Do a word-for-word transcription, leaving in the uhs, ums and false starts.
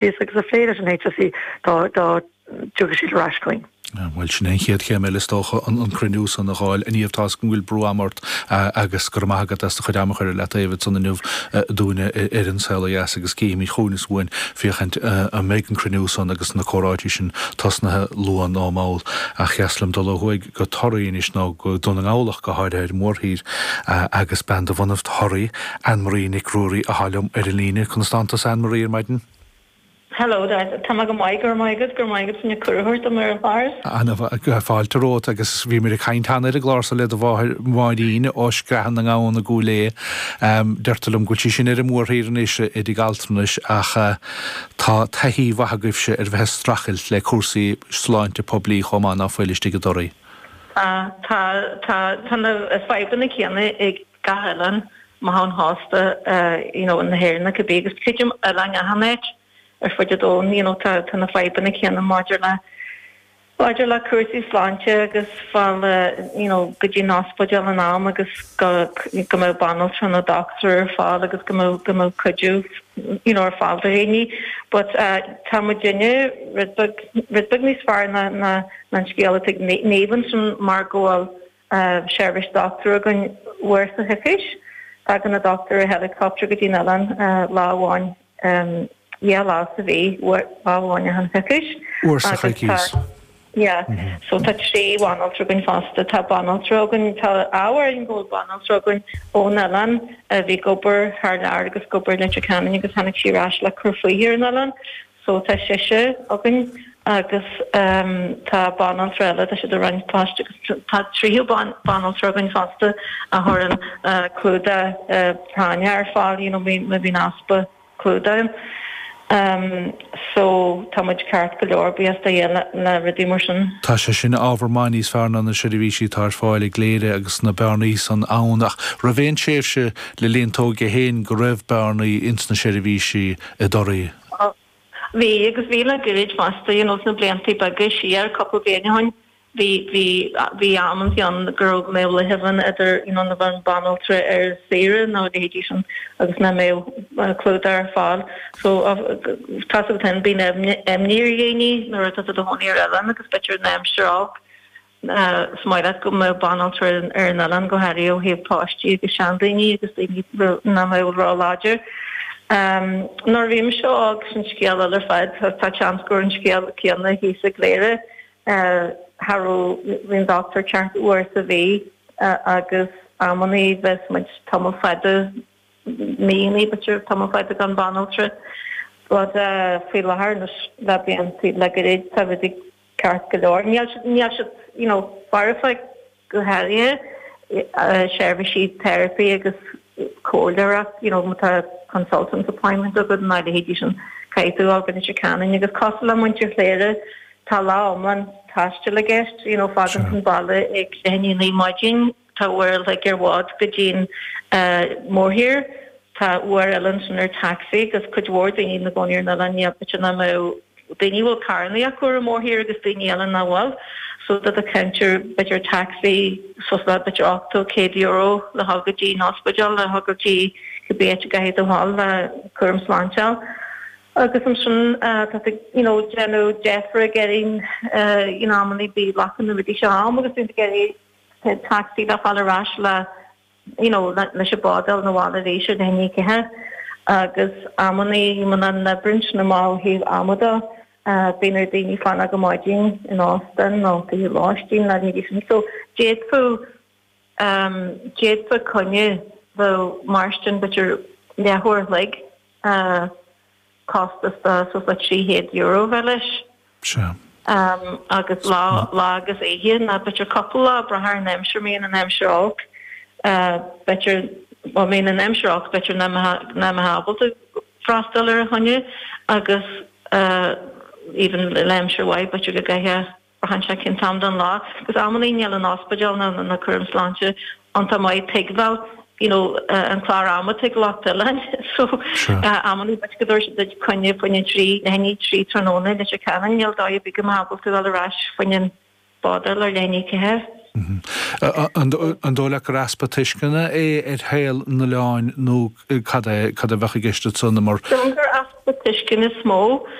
Agus a phlé leis an H S E dá dá dtiocfadh siad ar ais chugainn. Bhuel, sin an chéad chéim eile, is dócha, an cruinniú san a fháil. A Niamh, tá a fhios go bhfuil brú ama ort agus go raibh maith agat as do chuid ama a chur le taobh ansan inniu dúinne ar An Saol Ó Dheas, agus cífimid chugainn is uainn féachaint an mbeidh an cruinniú san agus na comhráití sin tosnaithe luath nó mall. Ach dheas liom dul ó thuaidh go Toraigh anois, nó go Dún na nGall ach go háirithe ar mhórthír, agus bean de bhunadh Thoraí, Anne-Marie Nic Ruairí, atá liom ar an líne. Conas tánn tusa, Anne-Marie, ar maidin? Hello there, tá mé go maith, go raibh maith agat, go raibh maith agat san cuireadh dom ar an chlár. An-fháilte romhat, agus bhí muid ag caint cheana ar an gclár so le do mháthair Máirín ó Screathan na nGamhan i gCúil Aodha. Deirtear liom go bhfuil sí sin ar an mórthír anois i dtigh altranais, ach tá taithí mhaith agaibhse ar bheith ag streachailt le cúrsaí sláinte poiblí chomh maith, ná fuil, istigh i dToraí? Tá tá tá tá na fadhbanna céanna ag gach oileán amach ón chósta you know na hÉireann cibé, agus creidim oileáin achan áit ar fud an domhain you know tá tá na fadhbanna céanna maidir le maidir le cúrsaí sláinte agus fáil you know go dtí an ospidéal in am agus go go mbeadh banaltra nó dochtúir ar fáil agus go mbeadh go mbeadh cuidiú you know ar fáil do dhaoine, but uh, tá muidinne rud beag rud beag níos fearr ná ná an scéal atá ag Niamh sin, mar go bhfuil uh, seirbhís dochtúir againn uair sa choicís. Tagann na dochtúir i helicopter go dtí an oileán uh, lá amháin um, yeah, lá sa mhí, lá amháin an choicís. Uair sa choicís. Yeah, mm -hmm. so tá trí bhanaltra againn fosta. Tá banaltra againn, tá ábhar go banaltra againn ón oileán a bhí ag obair thar lear agus ag obair Leitir Ceanainn, agus tháinig sí ar ais le cur fúithi ar an oileán, so tá sise againn, agus um, tá banaltra eile, tá siad ag roinnt poist, agus tá tríú banaltra againn fosta a chuireann uh, clúdach uh, práinne ar fáil you know, má bhíonn easpa clúdach. Um, so tá muid ceart go leor buíochas do Dhia le, le rudaí mar sin. Tá sé sin ábhar maith níos fearr ná na seirbhísí atá ar fáil i gCléire agus na bearnaí san ann, ach raibh aon tréimhse le linn t'óige féin go raibh bearnaí ins na seirbhísí i dToraí? Bhí, agus bhí le gairid fosta you know, sna blianta beaga siar, cúpla bliain ó shin. bhí bhí bhí amantaí ann go raibh mé leithéid idir you know, na bheith banaltra ar saoire nó leithéidí sin agus nach mbeadh clúdach ar fáil, so tá ten bíonn imní ar dhaoine nuair atá tú i do chónaí ar oileán agus b'fhéidir an aimsir olc, is maith leat go mbeadh banaltra ar an oileán, go háirithe ó thaobh páistí agus seandaoine agus daoine nach mbeadh ró-láidir. Um, nuair a bhí mise óg, sin scéal eile ar fad, tá seans gur an scéal céanna thíos i gCléire. Uh, cha raibh an doctor ceart uair sa mhí uh, agus amannaí bheadh muid tamall fada, míonna b'fhéidir, tamall fada gan banaltra. But uh, faoi láthair le blianta le gairid tá rudaí ceart go leor. Níl níl siad you know, foirfe, go háirithe uh, seirbhísí therapy agus comhairleoireacht, you know, tá consultant appointment agat na leithéidí sin, caithfidh tú agus sé Ceanainn, agus cosúil le muintir Chléire tá lá iomlán taistil i gceist, you know, fágann an baile ag leath i ndiaidh maidin, tá uair like ar bhád go dtí'n uh, mórthír, tá uair eile sin ar taxi, agus cuid mhór daoine ina gcónaí ar an oileán b'fhéidir nach mbeadh daoine bhfuil carranna acu ar an mórthír agus daoine eile nach bhfuil, so tá do cinntear b'fhéidir taxi so b'fhéidir ochtó céad euro le dhul go dtí an ospidéal, le dhul go dtí cibé áit a gcaithfidh tú dhul le cúram sláinte. Agus ansin tá you know déanamh deifir ag iarraidh you know amannaí bí glacann na rudaí seo am agus bíonn ag iarraidh taxi le fáil ar ais le you know leis an bád na bháil arís ar na cithe, agus amannaí muna n-oibríonn na má thaobh ama de, bíonn ar daoine fanacht go maidin in óstán nó tithe lóistín le leithéidí sin. So d'fhéadfadh um, d'fhéadfadh coinne bheith mar sin b'fhéidir leathuair an chloig uh, costas de suas le trí chéad euro bheith leis. Sea. Um, agus lá lá agus oíche nó b'fhéidir cúpla lá, brath ar an aimsir. Bíonn an aimsir olc, uh, b'fhéidir má bhíonn an aimsir olc b'fhéidir nach mbeifeá ábalta freastal ar an choinne, agus uh, even le aimsir mhaith b'fhéidir go gcaithfeá braitheann sé cén t-am den lá, agus amannaí níl an ospidéal na na cúram sláinte an tá maith tuigbheáil you know uh, an clár ama ag lucht oileáin, so uh, amannaí b'fhéidir go dtabharfaidh siad duit coinne faoin trí leath i ndiaidh trí tráthnóna leis an Ceanainn, níl dóigh ar bith go mbeifeá ábalta dul ar ais faoin bád ar leath i ndiaidh ceathair. An dóigh leat gur easpa tuisceana é ar shaol na n-oileán nó cad é cad a bheadh i gceist ansan mar Gur easpa tuiscint is mó.